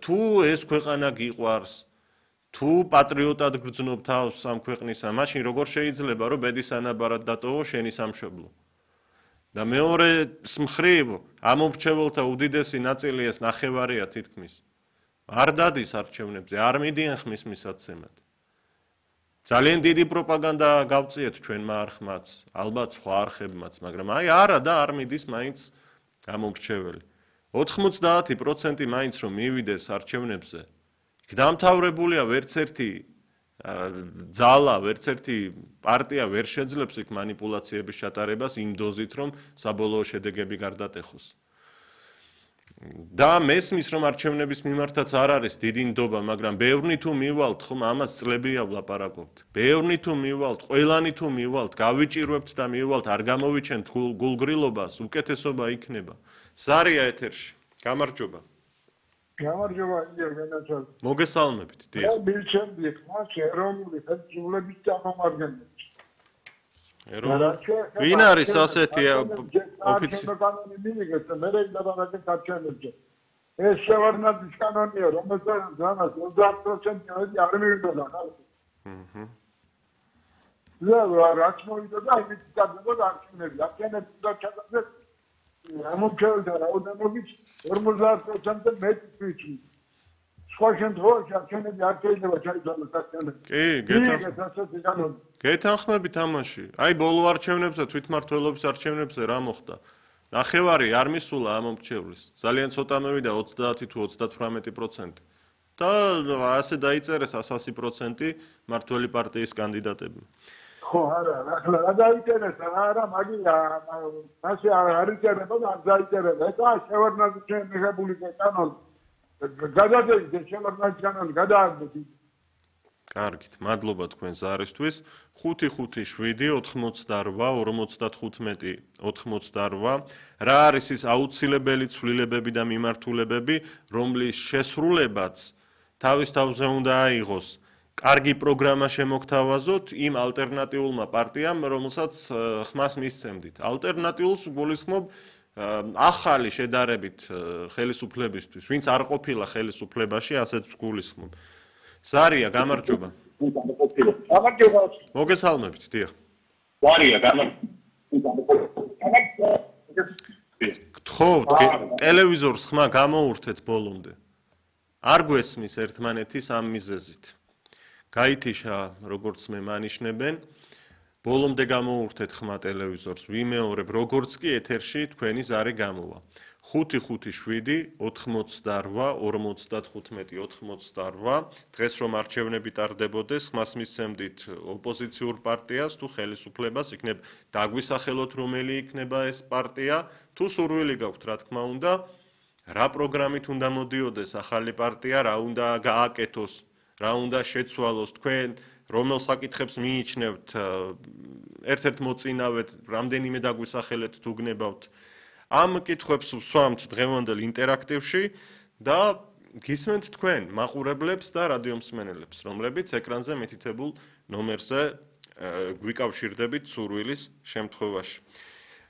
თუ ეს ქვეყანა გიყვარს, თუ პატრიოტად გრძნობ თავს ამ ქვეყნისა, მაშინ როგორ შეიძლება რომ ბედის ანაბარად დატოვო შენი სამშობლო? და მეორე მხრივ ამომრჩეველთა უდიდესი ნაწილი ეს ნახევარია თითქმის. არ დადის არჩევნებზე, არ მიდიან ხმის მისაცემად. ძალიან დიდი პროპაგანდა გავწიეთ ჩვენმა არხმაც, ალბათ სხვა არხებმაც, მაგრამ არა და არ მიდის მაინც ამომრჩეველი. 90% მაინც რომ მივიდეს არჩევნებზე, იქ დამთავრებულია ვერც ერთი ძალა, ვერც ერთი პარტია ვერ შეძლებს იქ მანიპულაციების ჩატარებას იმ დოზით, რომ საბოლოო შედეგები გარდატეხოს. და მესმის რომ არჩევნების მიმართაც არ არის დიდი ნდობა, მაგრამ ბევრნი თუ მივალთ, ხომ ამას წლებია ვლაპარაკობთ. ბევრნი თუ მივალთ, ყველანი თუ მივალთ, გავიჭირვებთ და მივალთ, არ გამოვიჩენთ გულგრილობას, უკეთესობა იქნება. სარია ეთერში. გამარჯობა. გამარჯობა, გენაცვალ. მოგესალმებით, დიახ. მე მივჩენდი ხმას ეროვნული ხელისუფლების წარმომადგენლებს. ვინ არის ასეთი ოფიცერი? კანონი მიიღეს და მე გადავაგეთ არჩევნებზე. ეს შევარდნაძის კანონია, რომელსაც 30% არ მივიდოდა ხალხი. რაც მოვიდა და იმით გადავიდა არჩევნები. არჩევნები და ჩატარდა ამომრჩეველთა რაოდენობით 50% მეტი თვიჩი. სხვა შემთხვევაში არჩევნები არ შეიძლება ჩაიძალოს არჩევნები. გეთანხმებით ამაში. აი ბოლო არჩევნებზე, თვითმმართველობის არჩევნებზე რა მოხდა? ნახევარი არ მისულა ამომრჩევლის. ძალიან ცოტა მევიდა 30 თუ 38%. და ასე დაიწერეს 100% მართველი პარტიის კანდიდატებმა. ხო, არა, ახლა რა დაიწერეს, არა, მაგია, ასე არ იწერება და არ დაიწერება. ეს შევარდნაძის მიღებული კანონი. გადადეთ შევარდნაძის კანონი, გადააგდეთ. კარგით, მადლობა თქვენ ზარისთვის. 5-5-7-88-95-88. რა არის ის აუცილებელი ცვლილებები და მიმართულებები, რომლის შესრულებაც თავის თავზე უნდა აიღოს კარგი პროგრამა შემოგთავაზოთ იმ ალტერნატიულმა პარტიამ, რომელსაც ხმას მისცემდით. ალტერნატიულს გულისხმობ ახალი შედარებით ხელისუფლებისთვის, ვინც არ ყოფილა ხელისუფლებაში, ასეც გულისხმობ. სარია, გამარჯობა. გამარჯობა. მოგესალმებით, დიახ. სარია, გამარჯობა. გთხოვთ, ტელევიზორს ხმა გამოურთეთ ბოლომდე. არ გვესმის ერთმანეთის ამ მიზეზით. გაითიშა, როგორც მე მანიშნებენ, ბოლომდე გამოურთეთ ხმა ტელევიზორს, ვიმეორებ, როგორც კი ეთერში თქვენი ზარი გამოვა. 5-5-7-88-95-88. დღეს რომ არჩევნები ტარდებოდეს, ხმას მისცემდით ოპოზიციურ პარტიას თუ ხელისუფლებას, იქნებ დაგვისახელოთ რომელი იქნება ეს პარტია, თუ სურვილი გაქვთ, რა თქმა უნდა, რა პროგრამით უნდა მოდიოდეს ახალი პარტია, რა უნდა გააკეთოს, რა უნდა შეცვალოს, თქვენ რომელ საკითხებს მიიჩნევთ, ერთ-ერთ მოწინავეთ, რამდენიმე დაგვისახელეთ თუ გნებავთ. ამ კითხვებს ვსვამთ დღევანდელ ინტერაქტივში და გისმენთ თქვენ მაყურებლებს და რადიომსმენელებს, რომლებიც ეკრანზე მითითებულ ნომერზე გვიკავშირდებით სურვილის შემთხვევაში.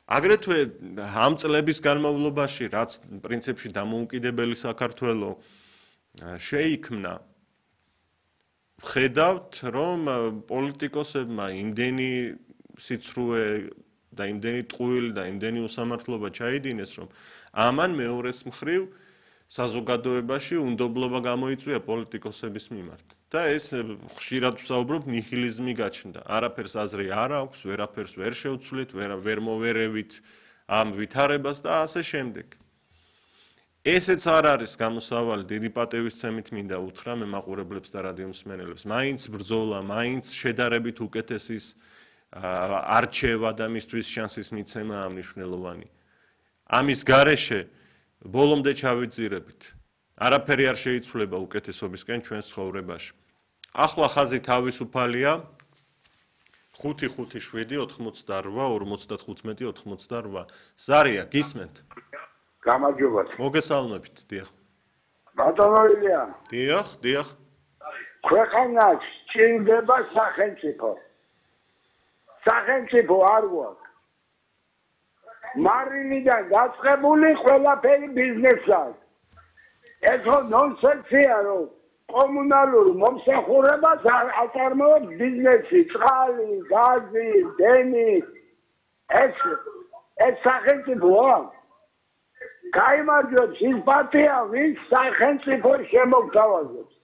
აგრეთვე ამ წლების განმავლობაში, რაც პრინციპში დამოუკიდებელი საქართველო შეიქმნა, ხედავთ, რომ პოლიტიკოსებმა იმდენი სიცრუე და იმდენი ტყუილი და იმდენი უსამართლობა ჩაიდინეს, რომ ამან მეორეს მხრივ საზოგადოებაში უნდობლობა გამოიწვია პოლიტიკოსების მიმართ. და ეს ხშირად ვსაუბრობ, ნიჰილიზმი გაჩნდა. არაფერს აზრი არ აქვს, ვერაფერს ვერ შევცვლით, ვერ მოვერევით ამ ვითარებას და ასე შემდეგ. ესეც არ არის გამოსავალი, დიდი პატივისცემით მინდა უთხრა მე მაყურებლებს და რადიომსმენელებს. მაინც ბრძოლა, მაინც შედარებით უკეთესის არჩევა და მისთვის შანსის მიცემა მნიშვნელოვანი. ამის გარეშე ბოლომდე ჩავიძირებით. არაფერი არ შეიცვლება უკეთესობისკენ ჩვენს ცხოვრებაში. ახლა ხაზი თავისუფალია 5-5-7-88-95-88. ზარია, გისმენთ? გამარჯობა. მოგესალმებით, დიახ. ბატონოია. დიახ. ქვეყანას სჭირდება სახელმწიფო. სახელმწიფო არ გვაქვს. მარილიდან გაწყებული ყველაფერი ბიზნესად. ეს ხო ნონსენსია, რომ კომუნალურ მომსახურებას აწარმოებს ბიზნესი, წყალი, გაზი, დენი. ეს სახელმწიფოა. გაიმარჯვებს ის პარტია, ვინც სახელმწიფოს შემოგთავაზებს.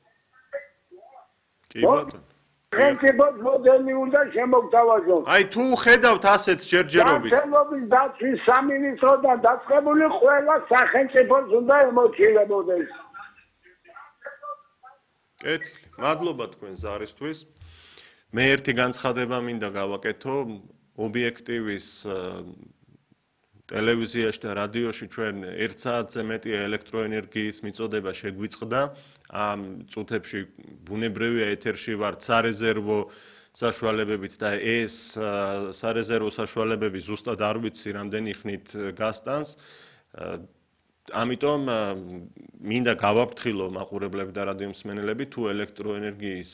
კი ბატონო. სახელმწიფოს მოდელი უნდა შემოგთავაზოს. აი თუ ხედავთ ასეთ ჯერჯერობით. სახელმწიფოს დაცვის სამინისტროდან დაწყებული ყველა სახელმწიფოს უნდა ემოცილებოდეს. კეთილი. მადლობა თქვენ ზარისთვის. მე ერთი განცხადება მინდა გავაკეთო ობიექტივის ტელევიზიაში და რადიოში ჩვენ 1 საათზე მეტი ელექტროენერგიის მიწოდება შეგვიწყდა. ამ წუთებში ბუნებრივია ეთერში ვართ სარეზერვო საშუალებებით და ეს სარეზერვო საშუალებები ზუსტად არ ვიცი რამდენი ხნით გასტანს. ამიტომ მინდა გავაფრთხილო მაყურებლები და რადიო მსმენელები თუ ელექტროენერგიის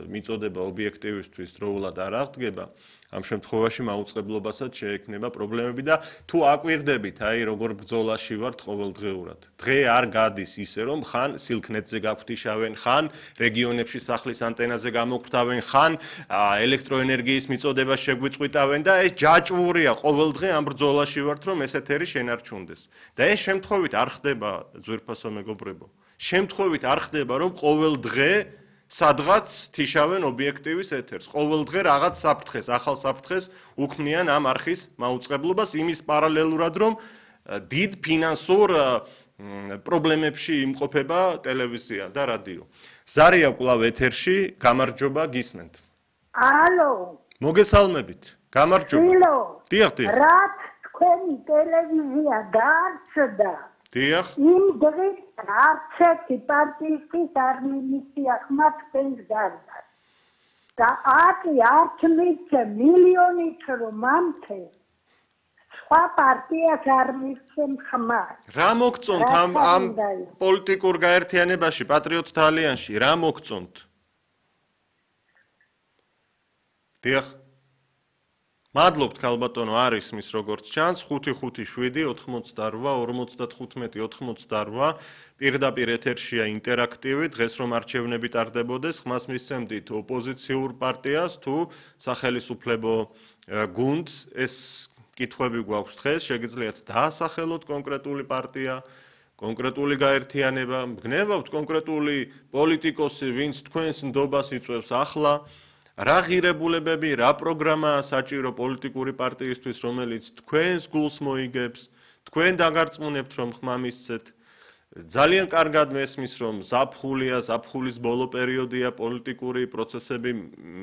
მიწოდება ობიექტივისთვის დროულად არ აღდგება ამ შემთხვევაში მაუწყებლობასაც შეექმნება პრობლემები და თუ აკვირდებით აი როგორ ბრძოლაში ვართ ყოველდღიურად დღე არ გადის ისე რომ ხან სილქნეტზე გაგვთიშავენ ხან რეგიონებში სახლის ანტენაზე გამოგფთავენ ხან ელექტროენერგიის მიწოდება შეგვიწყვიტავენ და ეს ჯაჭვურია ყოველდღე ამ ბრძოლაში ვართ რომ ეს ეთერი შენარჩუნდეს და ეს შემთხვევით არ ხდება ძვირფასო მეგობრებო შემთხვევით არ ხდება რომ ყოველ დღე სადღაც თიშავენ ობიექტივის ეთერს ყოველ დღე რაღაც საფრთხეს ახალ საფრთხეს უქმნიან ამ არხის მაუწყებლობას იმის პარალელურად რომ დიდ ფინანსურ პრობლემებში იმყოფება ტელევიზია და რადიო ზარია კვლავ ეთერში გამარჯობა გისმენთ ალო მოგესალმებით გამარჯობა დიახ რაც თქვენი ტელევიზია დაარსდა დიახ იმ დღეს არც ერთი პარტიის არ მიმისია ხმა თქვენს გარდას და არც მიცე მილიონით რომ ამთე სხვა პარტიას არ მიცემ ხმა რა მოგწონთ ამ პოლიტიკურ გაერთიანებაში პატრიოტთა ალიანსში რა მოგწონთ დიახ მადლობთ ქალბატონო არის მის როგორც ჩანს 557-88-55-88 პირდაპირ ეთერშია ინტერაქტივი დღეს რომ არჩევნები ტარდებოდეს ხმას მისცემდით ოპოზიციურ პარტიას თუ სახელისუფლებო გუნდს ეს კითხვები გვაქვს დღეს შეგიძლიათ დაასახელოთ კონკრეტული პარტია კონკრეტული გაერთიანება გნებავთ კონკრეტული პოლიტიკოსი ვინც თქვენს ნდობას იწვევს ახლა რა ღირებულებები, რა პროგრამაა საჭირო პოლიტიკური პარტიისთვის, რომელიც თქვენს გულს მოიგებს, თქვენ დაგარწმუნებთ, რომ ხმა მისცეთ. ძალიან კარგად მესმის, რომ ზაფხულია, ზაფხულის ბოლო პერიოდია, პოლიტიკური პროცესები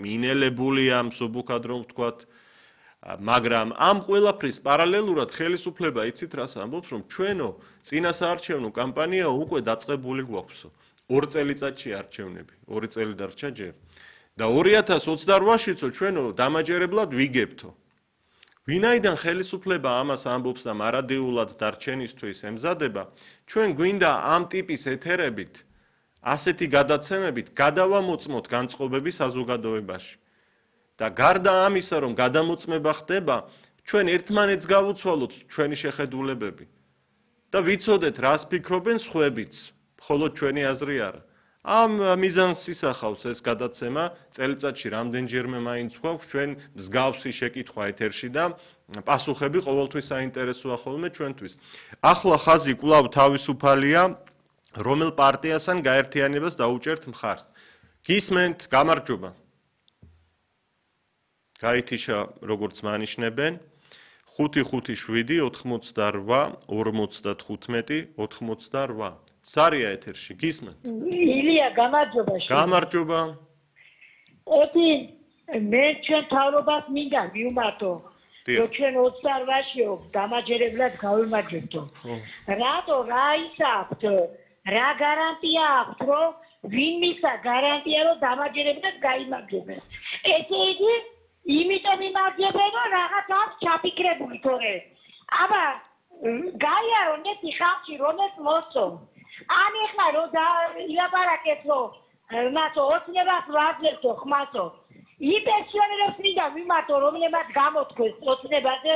მინელებულია, მსუბუქად რომ ვთქვათ, მაგრამ ამ ყველაფრის პარალელურად ხელისუფლება იცით რას ამბობს, რომ ჩვენო წინასაარჩევნო კამპანია უკვე დაწყებული გვაქვსო. 2 წელიწადში არჩევნები, 2 წელი დარჩა ჯერ. და 2028-შიცო ჩვენო დამაჯერებლად ვიგებთო. ვინაიდან ხელისუფლება ამას ამბობს და მარადიულად დარჩენისთვის ემზადება, ჩვენ გვინდა ამ ტიპის ეთერებით, ასეთი გადაცემებით გადავამოწმოთ განწყობები საზოგადოებაში. და გარდა ამისა, რომ გადამოწმება ხდება, ჩვენ ერთმანეთს გავუცვალოთ ჩვენი შეხედულებები და ვიცოდეთ, რას ფიქრობენ სხვებიც, მხოლოდ ჩვენი აზრი არა. ამ მიზანს ისახავს ეს გადაცემა წელიწადში რამდენჯერმე მაინც გვაქვს ჩვენ მსგავსი შეკითხვა ეთერში და პასუხები ყოველთვის საინტერესოა ხოლმე ჩვენთვის. ახლა ხაზი კვლავ თავისუფალია, რომელ პარტიას ან გაერთიანებას დაუჭერთ მხარს. გისმენთ, გამარჯობა. გაითიშა როგორც მანიშნებენ 557-88-55-88. სარია ეთერში გისმენთ? ილია გამარჯობა. გამარჯობა. ეთი მე ჩვენ თავრობას მინდა მივმართო. რომ ჩვენ 28-შიო დამაჯერებლად გავიმარჯვებთო. რატო რა ისაქვთ? რა გარანტია აქვს რომ ვინმისა გარანტია რომ დამაჯერებლად გაიმარჯვებენ? ესე იგი იმიტომ იმარჯვებენ რომ რაღაც აქვს ჩაფიქრებული თორე. აბა გაიარონ ეს ხალხი რომელს მოსწონ ან ეხლა რომ ილაპარაკეთ რომ მათო ოცნებას ვაძლევთო ხმასო იპენსიონერებს მინდა ვიმართო რომლებმაც გამოთქვეს ოცნებაზე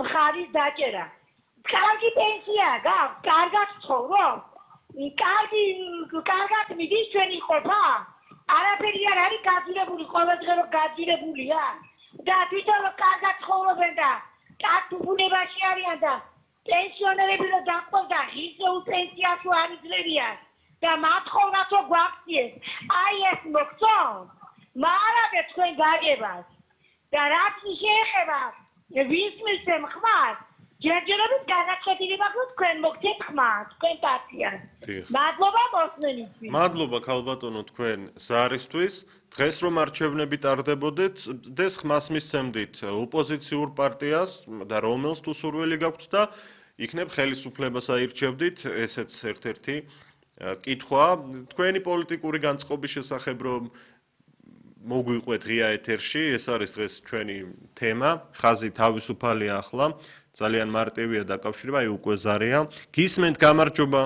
მხარის დაჭერა კარგი პენსია გაქვს კარგად ცხოვრობ კარგად მიდის ჩვენი ყოფა? არაფერი არ არის გაძირებული, ყოველდღე რომ გაძირებულია და თვითონ კარგად ცხოვრობენ და კარგ ბუნებაში არიან და პენსიონერები რომ დაყვდა ღირსეულ პენსიას არ იძლევიან და მათხოვნას რომ გვაქციეს აი ეს მოგწონთ მარადე თქვენ გაგებას და რაც შეეხება ვის მისცემ ხმას ჯერჯერობით განაცხადილი მაქვს თქვენ მოგცეთ ხმას თქვენ პარტიას მადლობა მოსმენისთვის მადლობა ქალბატონო თქვენ ზარისთვის დღეს რომ არჩევნები ტარდებოდეთ დეს ხმას მისცემდით ოპოზიციურ პარტიას და რომელს თუ სურვილი გაქვთ და იქნებ ხელისუფლებას აირჩევდით ესეც ერთ-ერთი კითხვა თქვენი პოლიტიკური განწყობის შესახებ რომ მოგვიყვეთ ღია ეთერში ეს არის დღეს ჩვენი თემა ხაზი თავისუფალია ახლა ძალიან მარტივია დაკავშირება აი უკვე ზარია გისმენთ გამარჯობა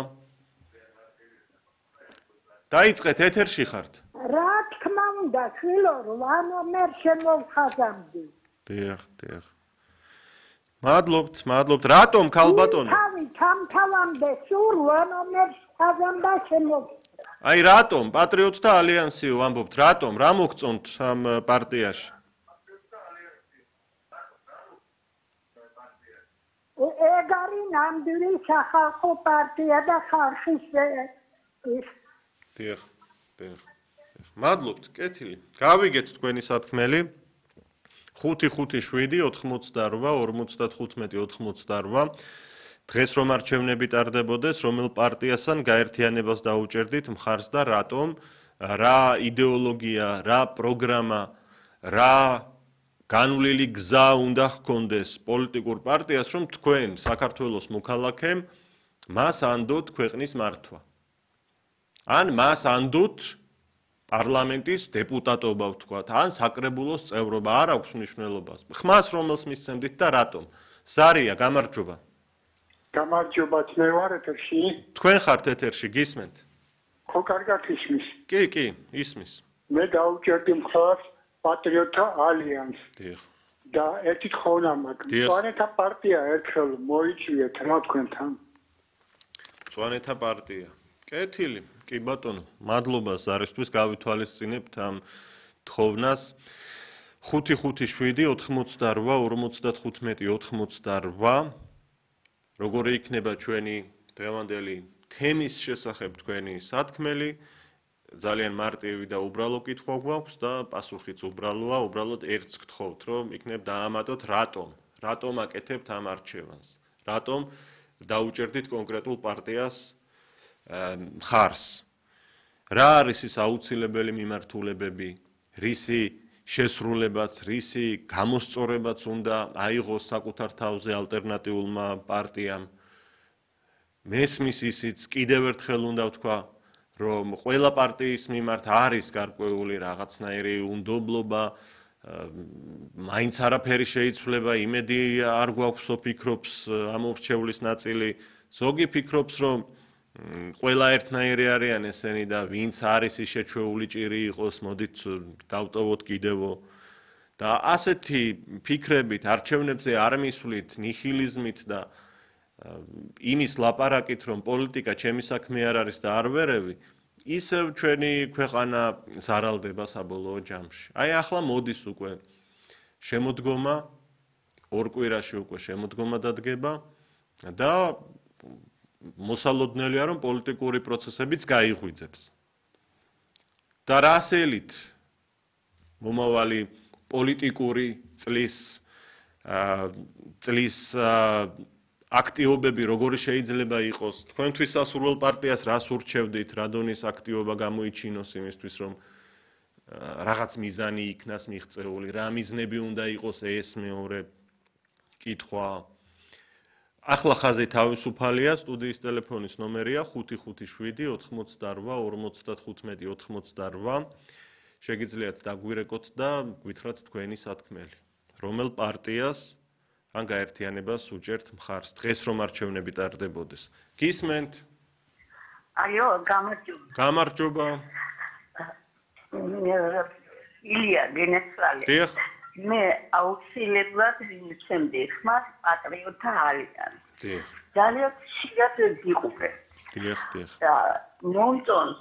დაიწყეთ ეთერში ხართ რა თქმა უნდა შვილო 8 ნომერ შემოვხაზამდი დიახ მადლობთ რატომ ქალბატონო თავი თამთავამდე სულ 8 ნომერ ხაზამდა შემოვხაზამდი აი რატომ პატრიოტთა ალიანსიო ამბობთ რატომ რა მოგწონთ ამ პარტიაში ეგ არის ნამდვილი სახალხო პარტია და ხალხის დიახ მადლობთ კეთილი გავიგეთ თქვენი სათქმელი 5-5-7 88 დღეს რომ არჩევნები ტარდებოდეს, რომელ პარტიასთან გაერთიანებას დაუჭერდით მხარს და რატომ, რა იდეოლოგია, რა პროგრამა, რა განვლილი გზა უნდა ჰქონდეს პოლიტიკურ პარტიას, რომ თქვენ საქართველოს მოქალაქემ მას ანდოთ ქვეყნის მართვა. ან მას ანდოთ პარლამენტის დეპუტატობა ვთქვათ, ან საკრებულოს წევრობა არ აქვს მნიშვნელობას. ხმას რომელს მისცემდით და რატომ? ზარია, გამარჯობა. გამარჯობა, მე ვარ ეთერში. თქვენ ხართ ეთერში, გისმენთ? ხო, კარგად ისმის. კი, ისმის. მე დავუჭერდი მხარს პატრიოტთა ალიანსს. დიახ. და ერთი თხოვნა მაქვს. მწვანეთა პარტია ერთხელ მოიწვიეთ რა თქვენთან. მწვანეთა პარტია. კეთილი, კი ბატონო, მადლობა ზარისთვის გავითვალისწინებთ ამ თხოვნას. 5-5-7 88 როგორი იქნება ჩვენი დღევანდელი თემის შესახებ თქვენი სათქმელი ძალიან მარტივი და უბრალო კითხვა გვაქვს და პასუხიც უბრალოა, უბრალოდ ერთს გთხოვთ, რომ იქნებ დაამატოთ რატომ აკეთებთ ამ არჩევანს, რატომ დაუჭერდით კონკრეტულ პარტიას მხარს. რა არის ის აუცილებელი მიმართულებები, რისი შესრულებაც, რისი გამოსწორებაც უნდა აიღოს საკუთარ თავზე ალტერნატიულმა პარტიამ. მესმის ისიც კიდევ ერთხელ უნდა ვთქვა, რომ ყველა პარტიის მიმართ არის გარკვეული რაღაცნაირი უნდობლობა, მაინც არაფერი შეიცვლება, იმედი არ გვაქვს, ფიქრობს ამორჩევლის ნაწილი, ზოგი ფიქრობს, რომ ყველა ერთნაირი არიან ესენი და ვინც არის ის შეჩვეული ჭირი იყოს, მოდით დავტოვოთ კიდევო. და ასეთი ფიქრებით არჩევნებზე არ მისვლით ნიჰილიზმით და იმის ლაპარაკით, რომ პოლიტიკა ჩემი საქმე არ არის და არ ვერევი, ისევ ჩვენი ქვეყანა ზარალდება საბოლოო ჯამში. აი ახლა მოდის უკვე შემოდგომა, ორ კვირაში უკვე შემოდგომა დადგება და მოსალოდნელია, რომ პოლიტიკური პროცესებიც გაიღვიძებს. და რასელით მომავალი პოლიტიკური წლის აქტივობები როგორი შეიძლება იყოს? თქვენთვის სასურველ პარტიას რას ურჩევდით, რა დონის აქტივობა გამოიჩინოს იმისთვის, რომ რაღაც მიზანი იქნას მიღწეული, რა მიზნები უნდა იყოს ეს მეორე კითხვა. ახლა ხაზი თავისუფალია, სტუდიის ტელეფონის ნომერია 557 88 95 შეგიძლიათ დაგვირეკოთ და გვითხრათ თქვენი სათქმელი. რომელ პარტიას ან გაერთიანებას უჭერთ მხარს დღეს რომ არჩევნები ტარდებოდეს. გისმენთ? აიო, გამარჯობა. გამარჯობა. ილია გენესვალე. დიახ. მე აუცილებლად მისცემდი ხმას პატრიოტთა ალიანსს. დიახ. ძალიან ხშირად გიყურე. დიახ. და მომწონს